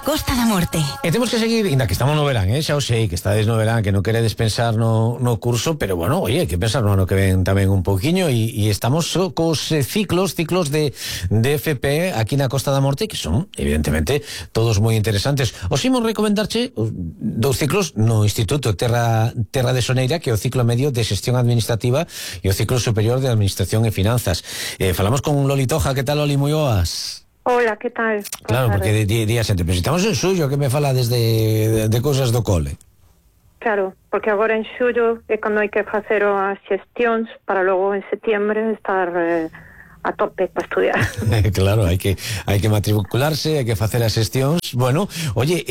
Costa da Morte. E temos que seguir, ainda que estamos no verán, xa o sei, que estades no verán, que non queredes pensar no curso, pero bueno, oye, hai que pensar no ano que ven tamén un poquinho, e estamos cos ciclos de FP aquí na Costa da Morte, que son, evidentemente, todos moi interesantes. Os imos recomendarche dous ciclos no Instituto Terra de Soneira, que é o ciclo medio de Xestión Administrativa e o ciclo superior de Administración e Finanzas. Falamos con Loli Toja. Que tal, Loli? Moi boas. Hola, que tal? Claro, porque día xente, pero estamos en xullo, que me fala desde de cousas do cole. Claro, porque agora en xullo é cando hai que facer as xestións para logo en setiembre estar a tope para estudiar. Claro, hai que matricularse, hai que facer as xestións. Bueno, oye,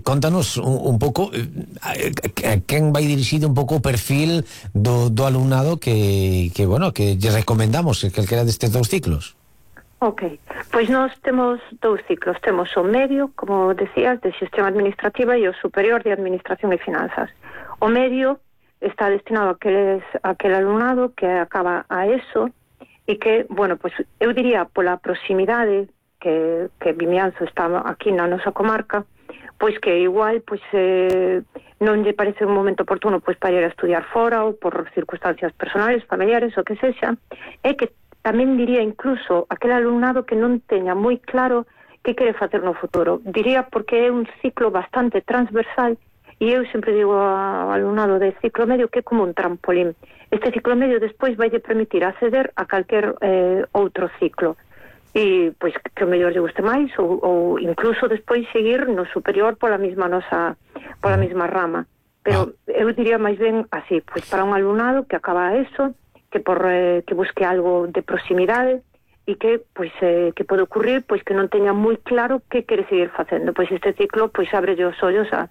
contanos un pouco a quen vai dirixido un pouco o perfil do alumnado que bueno, que lle recomendamos que calquera destes dous ciclos. Ok, pois nós temos dous ciclos. Temos o medio, como decías, de xestión administrativa, e o superior de administración e finanzas. O medio está destinado a aquel alumnado que acaba a ESO e que, bueno, pois eu diría pola proximidade que Vimianzo está aquí na nosa comarca, pois que igual pois non lle parece un momento oportuno pois para ir a estudiar fora ou por circunstancias personales, familiares, o que sexa, é que tamén diría incluso aquel alumnado que non teña moi claro que quere facer no futuro. Diría porque é un ciclo bastante transversal, e eu sempre digo ao alumnado de ciclo medio que é como un trampolín. Este ciclo medio despois vai permitir acceder a calquer outro ciclo, e pois que o mellor lle guste máis, ou incluso despois seguir no superior pola mesma rama. Pero eu diría máis ben así, pois para un alumnado que acaba eso, que busque algo de proximidade e que pois que pode ocurrir pois que non teña moi claro que quere seguir facendo. Pois este ciclo pois abre os ollos a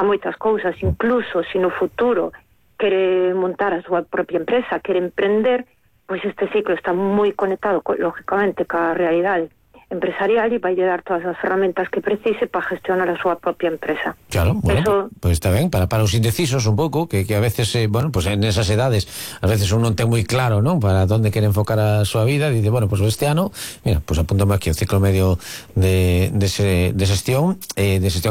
moitas cousas, incluso se no futuro quere montar a súa propia empresa, quere emprender, pois este ciclo está moi conectado lógicamente ca realidade empresarial e vai dar todas as ferramentas que precise para gestionar a súa propia empresa. Claro, bueno, pois está ben, para os indecisos un pouco, que a veces, bueno, pues en esas edades, a veces uno non ten moi claro, non, para onde quere enfocar a súa vida, e dice, bueno, pues este ano, mira, pues apúntame aquí o ciclo medio de xestión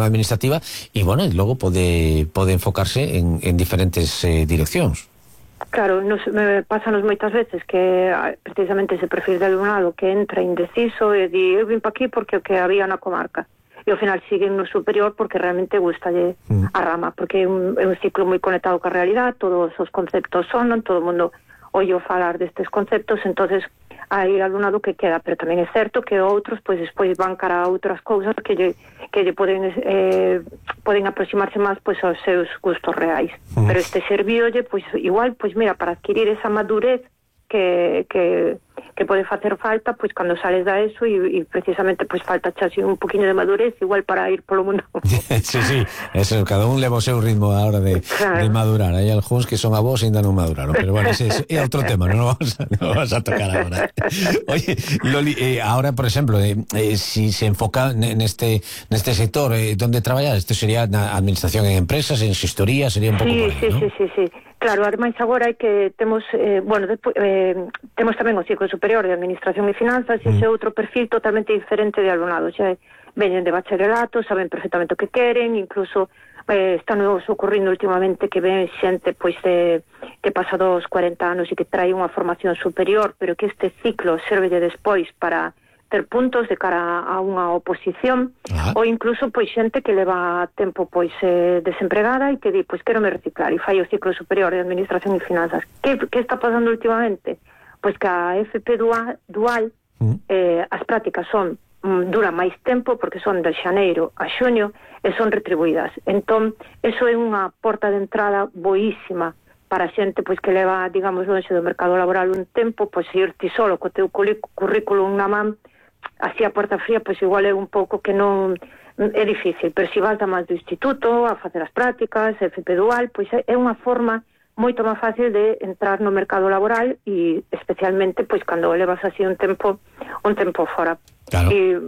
administrativa, e bueno, e logo pode enfocarse en diferentes direccións. Claro, pásanos moitas veces que precisamente ese perfil de alumnado que entra indeciso e di, eu vim pa aquí porque o que había na comarca, e ao final siguen no superior porque realmente gustalle a rama, porque é un ciclo moi conectado ca realidade, todos os conceptos sonan, todo o mundo oio falar destes conceptos, entonces hai alumnado que queda, pero tamén é certo que outros pois despois van cara a outras cousas que lle poden aproximarse máis pois aos seus gustos reais. Pero este servíolle pois igual, pois mira, para adquirir esa madurez que pode facer falta pois cando sales da ESO e precisamente pois falta así un poquinho de madurez igual para ir polo mundo. Sí, eso, cada un leva o seu ritmo a hora de madurar. Hai algúns que son avós e ainda non maduraron, pero bueno, é outro tema, non vamos a tocar agora. Oye, Loli, ahora, por exemplo, si se enfoca neste sector donde traballar, isto sería na administración en empresas, en xestoría, sería un pouco por aí, ¿no? Sí. Claro, ademais agora hai que temos temos tamén o ciclo superior de administración e finanzas, e ese outro perfil totalmente diferente de alumnado. Xa veñen de bacharelato, saben perfectamente o que queren, incluso están ocurrindo últimamente que ven xente pois que pasa dos 40 anos e que trae unha formación superior, pero que este ciclo servelle despois para ter puntos de cara a unha oposición, ou incluso pois xente que leva tempo pois desempregada e que di, pois quero me reciclar e fai o ciclo superior de administración e finanzas. Que está pasando últimamente? Pois que a FP dual as prácticas duran máis tempo porque son de xaneiro a xuño e son retribuídas. Entón, eso é unha porta de entrada boísima para a xente pois que leva, digamos, lonxe do mercado laboral un tempo, pois ir ti solo co teu currículum na man así a porta fría, pois igual é un pouco que non é difícil, pero se vas da máis do instituto a facer as prácticas, FP dual, pois é unha forma moito máis fácil de entrar no mercado laboral e especialmente pois cando levas así un tempo fora. Claro. E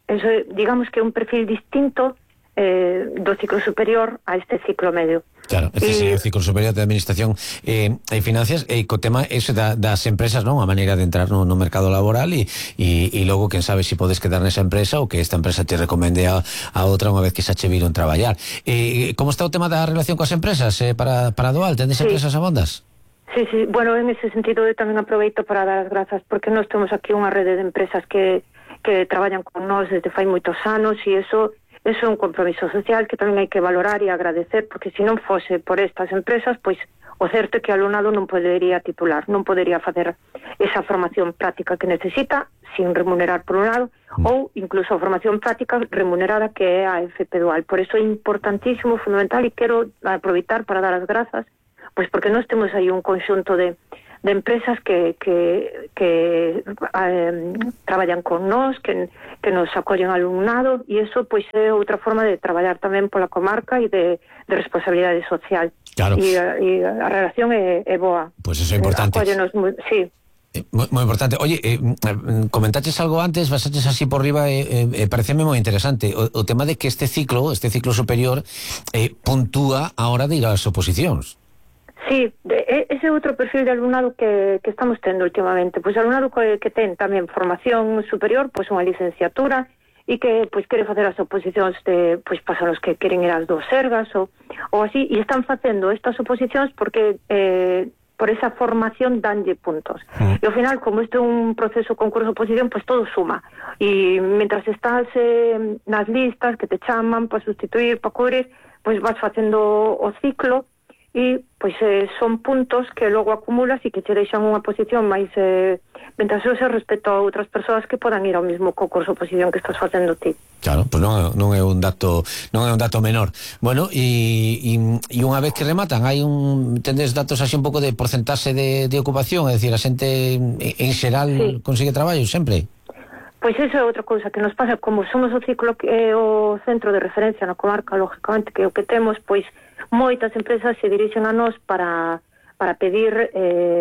eso, digamos que é un perfil distinto do ciclo superior a este ciclo medio. Claro, este sería o ciclo superior de Administración e Finanzas, e co tema ese das empresas, non? A maneira de entrar no mercado laboral e logo, quen sabe se podes quedar nesa empresa ou que esta empresa te recomende a outra unha vez que xa che viron traballar. Como está o tema da relación coas empresas para Dual? Tendes empresas abondas? Sí, bueno, en ese sentido eu tamén aproveito para dar as grazas, porque nós temos aquí unha rede de empresas que traballan con nós desde fai moitos anos, e eso é un compromiso social que tamén hai que valorar e agradecer, porque se non fose por estas empresas, pois o certo é que o alumnado non podería titular, non podería facer esa formación práctica que necesita sin remunerar por un lado, ou incluso a formación práctica remunerada que é a FP Dual. Por eso é importantísimo, fundamental, e quero aproveitar para dar as grazas, pois porque nós temos aí un conxunto de empresas que traballan con nós, que nos acollen alumnado, e iso pois é outra forma de traballar tamén pola comarca e de responsabilidade social. Claro. E a relación é boa. Pois eso é importante. Sí. Moi importante. Oye, comentaches algo antes, basaches así por riba, pareceme moi interesante o tema de que este ciclo superior puntúa a hora de ir ás oposicións. Sí, ese é outro perfil de alumnado que estamos tendo últimamente. Pois alumnado que ten tamén formación superior, pois unha licenciatura, e que pois quere facer as oposicións de, pois pasan os que queren ir ás dos Sergas ou así, e están facendo estas oposicións porque por esa formación danlle puntos. E ao final, como isto é un proceso concurso-oposición, pois todo suma. E mentras estás nas listas que te chaman para sustituir, para cubrir, pois vas facendo o ciclo, e pois son puntos que logo acumulas e que te deixan unha posición máis ventajosa respecto a outras persoas que podan ir ao mesmo concurso oposición que estás facendo ti. Claro, pois non é un dato menor. Bueno, e unha vez que rematan, tendes datos así un pouco de porcentaxe de ocupación, é dicir, a xente en xeral consigue traballo sempre? Pois iso é outra cousa que nos pasa, como somos o ciclo que é o centro de referencia na comarca, lógicamente, que é o que temos, pois moitas empresas se dirixen a nós para pedir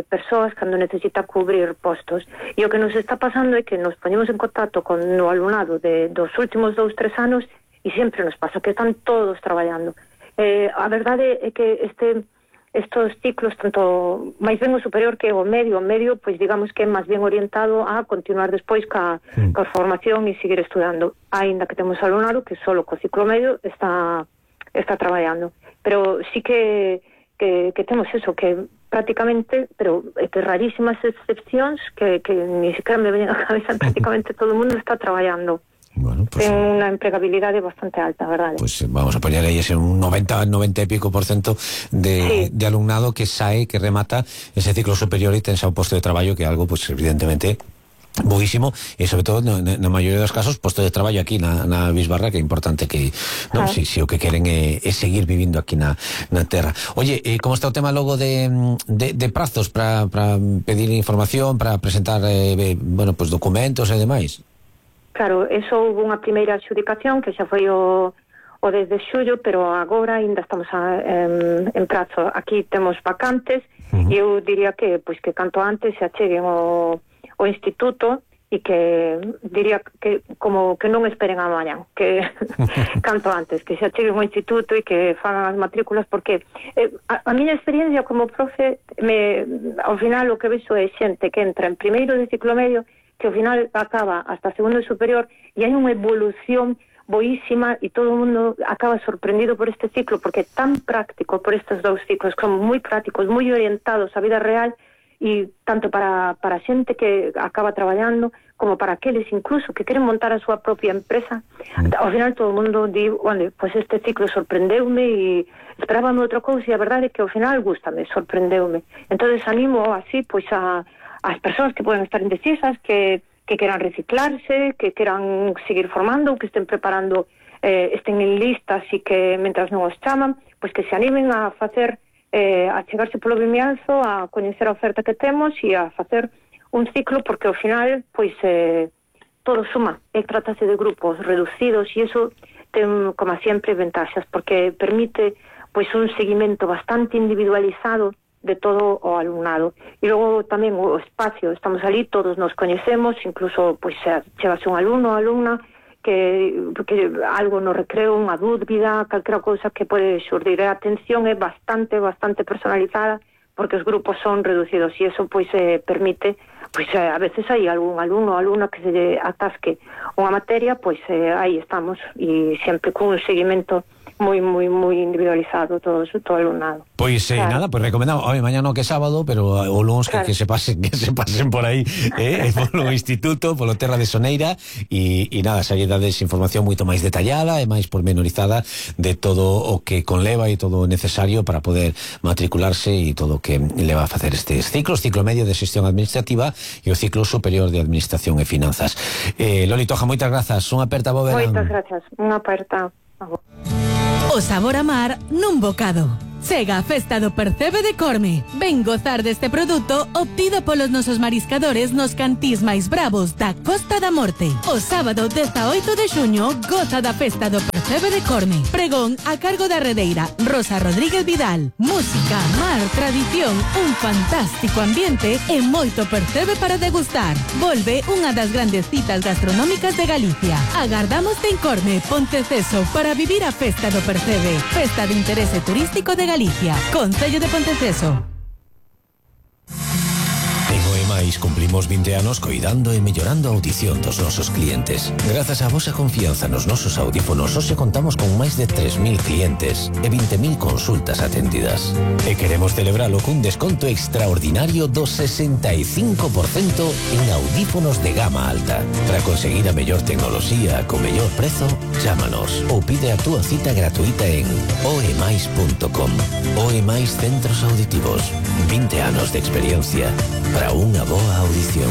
persoas cando necesita cubrir postos. E o que nos está pasando é que nos ponemos en contacto con o alumnado dos últimos 2-3 anos e sempre nos pasa que están todos traballando. A verdade é que estos ciclos, tanto máis ben o superior que o medio, pois digamos que é máis ben orientado a continuar despois ca formación e seguir estudando, aínda que temos alumnado que solo co ciclo medio está traballando. Pero sí que temos eso, que prácticamente, pero que rarísimas excepcións que ni siquiera me ven a cabeza, prácticamente todo o mundo está traballando. Bueno, pues, ten unha empregabilidade bastante alta, verdade? Pues vamos a poñer aí ese un 90 e pico % de alumnado que remata ese ciclo superior e ten xa un posto de traballo, que é algo, pues evidentemente boísimo, e sobre todo na maioría dos casos posto de traballo aquí na Bisbarra, que é importante que si o que queren é seguir vivindo aquí na terra. Oye, como está o tema logo de prazos para pedir información, para presentar pues documentos e demais? Claro, eso houve unha primeira adxudicación que xa foi o 10 de xullo, pero agora ainda estamos en prazo. Aquí temos vacantes e eu diría que canto antes se acheguen o instituto e que diría que como que non esperen a mañá, que canto antes, que se acheguen o instituto e que fagan as matrículas, porque a miña experiencia como profe, ao final o que vexo é xente que entra en primeiro de ciclo medio que ao final acaba hasta segundo superior e hai unha evolución boísima e todo o mundo acaba sorprendido por este ciclo porque é tan práctico, por estes dous ciclos que son moi prácticos, moi orientados á vida real e tanto para a xente que acaba traballando como para aqueles incluso que queren montar a súa propia empresa. Ao final todo o mundo di, pois este ciclo sorprendeume e esperábame outra cousa e a verdade é que ao final gústame, sorprendeume. Entonces animo así pois as persoas que poden estar indecisas, que queran reciclarse, que queran seguir formando, que estén preparando, estén en listas e que, mentras non os chaman, pois que se animen a facer, a chegarse polo Vimianzo, a coñecer a oferta que temos e a facer un ciclo, porque ao final, pois, todo suma. Trátase de grupos reducidos e iso ten, como sempre, ventaxas, porque permite, pois, un seguimento bastante individualizado de todo o alumnado. E logo tamén o espacio, estamos ali, todos nos coñecemos, incluso pois chegase un alumno ou alumna que algo no recreo, unha dúbida, calquera cousa que pode xurdir. A atención é bastante personalizada, porque os grupos son reducidos e eso pois permite, pois a veces hai algún alumno ou alumna que se lle atasque unha materia, pois aí estamos, e sempre con un seguimento moi individualizado todo o alumnado. Pois claro. Nada, pois recomendamos, mañá no que é sábado, pero o luns claro. que se pasen por aí polo instituto, polo Terra de Soneira e nada, xa lle dades información moito máis detallada e máis pormenorizada de todo o que conleva e todo o necesario para poder matricularse e todo o que leva a facer estes ciclos, ciclo medio de xestión administrativa e o ciclo superior de administración e finanzas. Loli Toja, moitas grazas, unha aperta bo verán. Moitas grazas, unha aperta. O sabor a mar nun bocado. Chega a Festa do Percebe de Corme. Ven gozar deste produto obtido polos nosos mariscadores nos cantís máis bravos da Costa da Morte. O sábado 18 de xuño goza da Festa do Percebe de Corme. Pregón a cargo da redeira Rosa Rodríguez Vidal. Música, mar, tradición, un fantástico ambiente e moito percebe para degustar. Volve unha das grandes citas gastronómicas de Galicia. Agardamos en Corme, Ponteceso, para vivir a Festa do Percebe. Festa de interese turístico de Galicia, Concello de Ponteceso. En OEMAIS cumplimos 20 anos coidando e mellorando a audición dos nosos clientes. Grazas á vosa confianza nos nosos audífonos, hoxe contamos con máis de 3.000 clientes e 20.000 consultas atendidas. E queremos celebralo cun desconto extraordinario do 65% en audífonos de gama alta. Para conseguir a mellor tecnoloxía co mellor prezo, chámanos ou pide a túa cita gratuita en oemais.com. OEMAIS Centros Auditivos. 20 anos de experiencia para unha boa audición.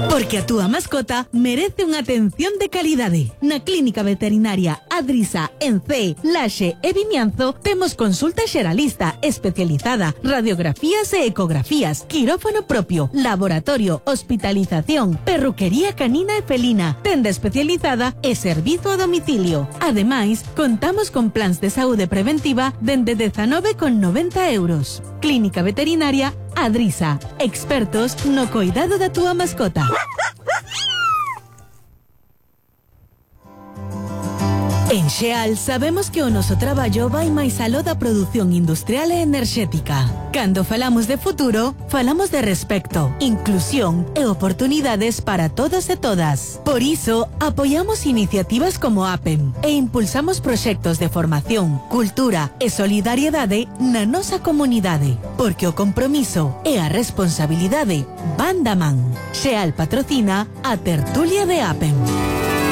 Porque a túa mascota merece unha atención de calidade. Na Clínica Veterinaria Adrisa, en C, Laxe e Vimianzo temos consulta xeralista especializada, radiografías e ecografías, quirófano propio, laboratorio, hospitalización, perruquería canina e felina, tenda especializada e servizo a domicilio. Ademais, contamos con plans de saúde preventiva dende 19,90 €. Clínica Veterinaria Adrisa, expertos no cuidado da túa mascota. En Xeal sabemos que o noso traballo vai máis aló da produción industrial e enerxética. Cando falamos de futuro, falamos de respecto, inclusión e oportunidades para todos e todas. Por iso, apoiamos iniciativas como APEM e impulsamos proxectos de formación, cultura e solidariedade na nosa comunidade, porque o compromiso e a responsabilidade van da man. Xeal patrocina a tertulia de APEM.